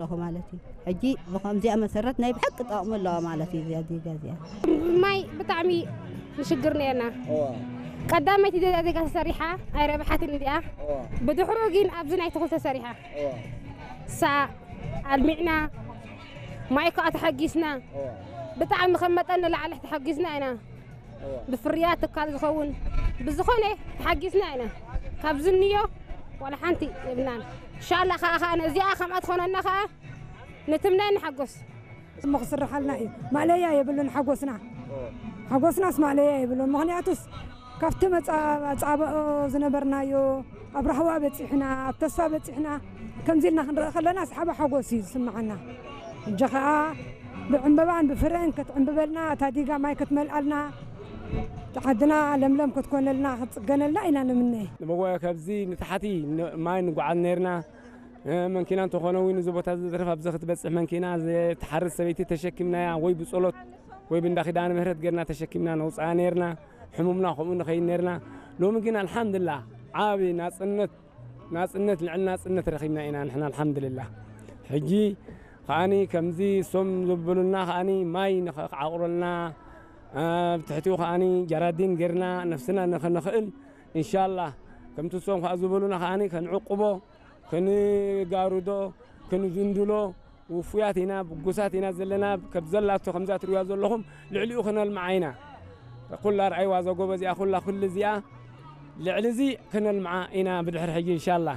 ኣለኹ ማለት እዩ። ሕጂ ብኸምዚኣ መሰረት ናይ ብሓቂ ጠቕሚ ኣለዋ ማለት እዩ እዚኣ ዲጋ እዚኣ። ማይ ብጣዕሚ ንሽግር ነርና። ቀዳመይቲ ዲጋ ተሰሪሓ ኣይረብሓትን እዚኣ። ብድሕሩ ግን ኣብዚ ናይ ተኽሊ ተሰሪሓ ሳ ኣልሚዕና ማይ ከዓ ተሓጊስና ብጣዕሚ ከም መጠን ንላዕሊ ተሓጊስና ኢና። ብፍርያት ትካል ዝኸውን ብዝኾነ ተሓጊስና ኢና። ካብ ዝንዮ ዋላ ሓንቲ የብናን። ኢንሻላ ከዓ ከዓ ነዚኣ ከምኣ ትኾነና ከዓ ንትምነ ንሓጎስ። እሞ ክስርሓልና እዩ። ማእለያ የብሉን ሓጎስና። ሓጎስናስ ማእለያ የብሉን። ምኽንያቱስ ካብቲ መጻ- መጻብኦ ዝነበርናዮ ኣብ ራህዋ በጺሕና፣ ኣብ ተስፋ በጺሕና ከምዚ ኢልና ክንርኢ ከለና ሰሓባ ሓጎስ እዩ ዝስምዓና። ሕጂ ኸኣ ብዕምበባን ብፍረን ክትዕምብበልና እታ ዲጋ ማይ ክትመልኣልና ዓድና ለምለም ክትኮነልና ክትጽገነልና ኢና ንምነ። ንመጓየ ካብዚ ንታሕቲ ማይ ንጓዓዝ ነርና። መንኪና እንተኾነ እውን እዚ ቦታ ዝትረፍ ኣብዚ ክትበፅሕ መንኪና ትሓርስ ሰበይቲ ተሸኪምናያ ወይ ብፀሎት ወይ ብእንዳ ኪዳነ ምህረት ገርና ተሸኪምና ነውፅኣ ነርና። ሕሙምና ከምኡ ንኸይድ ነርና። ሎሚ ግን ኣልሓምድላ ዓብ ናፅነት ናፅነት ልዕሊ ናፅነት ረኺብና ኢና ንሕና ኣልሓምድልላ። ሕጂ ከዓኒ ከምዚ እሶም ዘበሉና ከዓኒ ማይ ንኸዓቑረልና ኣብ ትሕቲኡ ከዓኒ ጃራዲን ገርና ነፍስና ንኸነኽእል እንሻላ ከምቲ እሶም ከዓ ዝበሉና ከዓኒ ከንዕቁቦ ክንጋርዶ ክንዝንድሎ ውፉያት ኢና ብጉሳት ኢና ዘለና። ከብ ዘላቶ ከምዛ ትሪዋ ዘለኹም ልዕሊኡ ክነልምዓ ኢና። ኩላ ርኣይዋ ዘጎበ እዚኣ ኩላ ኩሉ እዚኣ ልዕሊ እዚ ክነልምዓ ኢና ብድሕሪ ሕጂ እንሻላ።